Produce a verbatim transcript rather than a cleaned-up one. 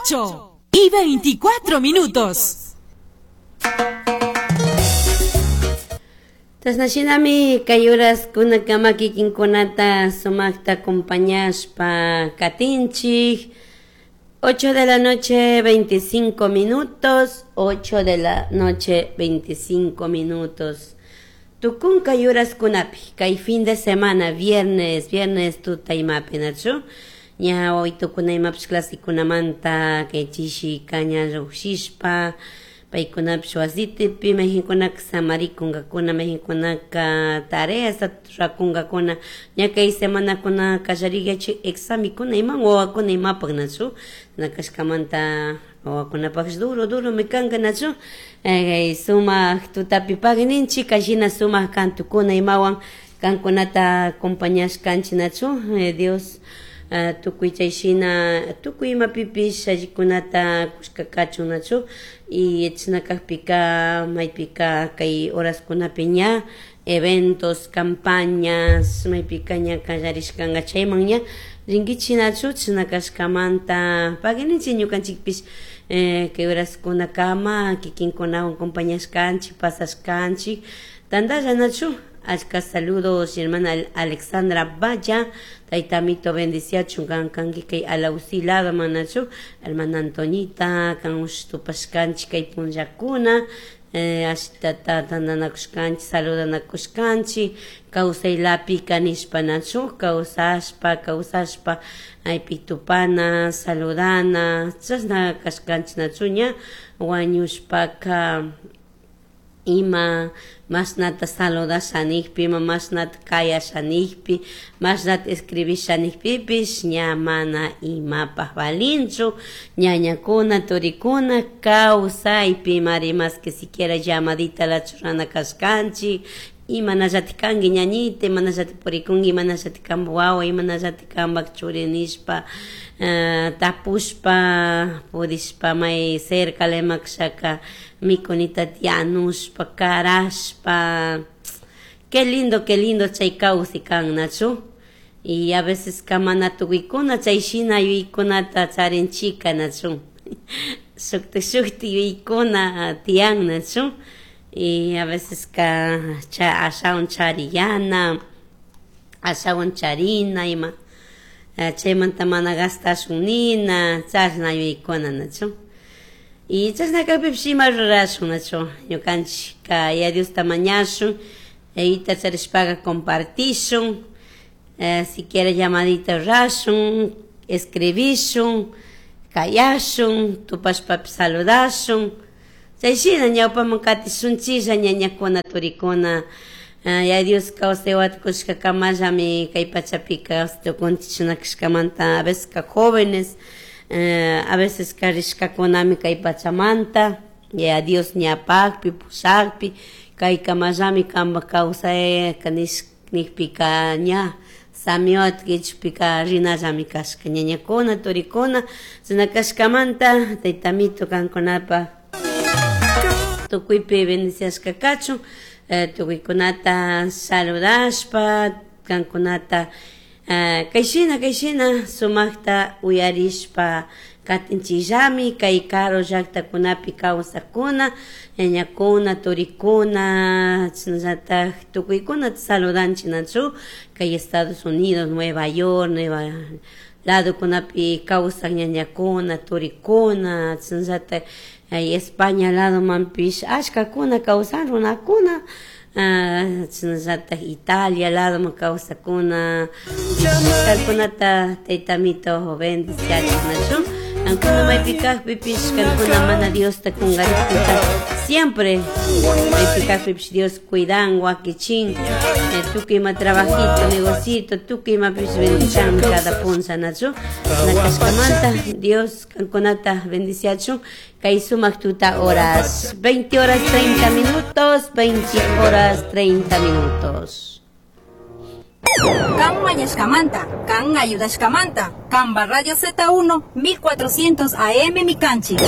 Ocho y veinticuatro minutos. Chashnashinami kay uraskuna kikinkunata sumakta acompañashpa katinchik. ocho de la noche, veinticinco minutos, ocho de la noche, veinticinco minutos. Tukunka yuraskunapi, kay fin de semana, viernes, viernes tuta imapi, nachu? Ña hoy tukuna imapish clasikunamanta, kay chishi kaña llukshishpa, paykunapish wasitipi, mayjinkunaka samarikunkakuna, mayjinkunaka tareas rurakunkakuna, ña kay semanakuna kallariyachi examikuna iman wawakuna imapak, nachu? Nakashkamanta wawakunapaksh duro, duro mi kanka, nachu? Eh, sumak tutapi pagninchik, kashina sumak kantukuna imawan kankunata acompañashkanchik, nachu? Eh, Dios uh, tukuy chayshina tukuy imapipish allikunata kushka kachun, nachu? Y chashna kakpika maypika kay horaskunapi ña eventos, campañas, maypika ña kallarishkanka chayman ña rinkichik, nachu? Chashna kashkamanta paguininchik ñukanchikpish eh, kay horaskunakama kikinkunawan acompañashkanchik, pasashkanchik tantalla, nachu? Achka saludos, hermana Alexandra Valla, taytamito bendiciachun kan kanki kay Alausí lado manachu, hermana Antoñita, kan tupashkanchik kay punllakuna, eh, ashtata tantanakushkanchik, saludanakushkanchik, kawsaylapi kanishpa, nachu, kawsashpa, kawsashpa, aypi tupana, saludana, chashna kashkanchik, nachu, ña wañushpaka ima mashnata saludasha nijpi, ima mashnata kayasha nijpi, mashnata escribisha nijpipish ña mana imapaj valinchu. Ñañakuna, turikuna, kawsaypi mari mas que siquiera llamadita la churana kashkanchik, imanallatik kanki ñañita, imanallatik purikunki, imanallatik kanpak wawa, imanallatik kanpak churi nishpa, uh, tapushpa, pudishpa may cerca lemakshaka mikunita yanushpa, karashpa. Qué lindo, qué lindo chay kawsay kan, nachu? Y a veces kamana tukuykuna chay shina yuyaykunata charinchika, nachu? Shukti shukti yuyaykuna tiyan, nachu? Y a veces ka cha ashawan chariyana, ashawan charina ima chaymanta mana gastashun nina, chashna yuyaykuna, nachu? Y chashna kakpipish ima rurashun, nachu? Ñukanchik ya Diosta mañashun, ita charishpaka compartishun, eh, siquiera llamadita rurashun, escribishun, kayashun, tupashpapish saludashun. Chayshina ñawpaman katishunchilla ñañakuna, turikuna, uh, ya Dios kawsay wata kushkakamallami kay pachapika tukunchik chinakashkamanta, a veces ka jóvenes, uh, a veces ka rishkakunami kay pachamanta, ya Dios ñapakpi, pushakpi, kaykamallami kanpak kawsay nijpika ña samiwata kichpika rinallami kashka ñañakuna, turikuna, chashna kashkamanta taytamito kankunapaj tukuypi bendiciashka kachun, eh, tukuykunata saludashpa, kankunata eh, kayshina kayshina sumakta uyarishpa katinchikllami kay karu llaktakunapi kawsakuna, ñañakuna, turikuna, chashnallatak tukuykunata saludanchik, nachu? Kay Estados Unidos, Nueva York, Nueva ladokunapi kawsak ñañakuna, turikuna, chashnallatak ay España ladomanpish ashkakuna kawsan runakuna, uh, chashnallatak Italia ladoman kawsakuna, kankunata taytamito bendiciachun, nachu? Kankuna maypi kakpipish kankuna mana Diosta kungarikpika siempre maypi kakpipish Dios cuidan, wakichin, eh, tukuy ima trabajito, negocito, tukuy imapish bendicianmi cada punlla, nachu? Nakashkamanta Dios kankunata bendiciachun kay sumak tuta horas, veinte horas treinta minutos, veinte horas treinta minutos. Kan mañashkamanta, kan ayudashkamanta, Kamba Radio Z uno, mil cuatrocientos A M Mikanchik.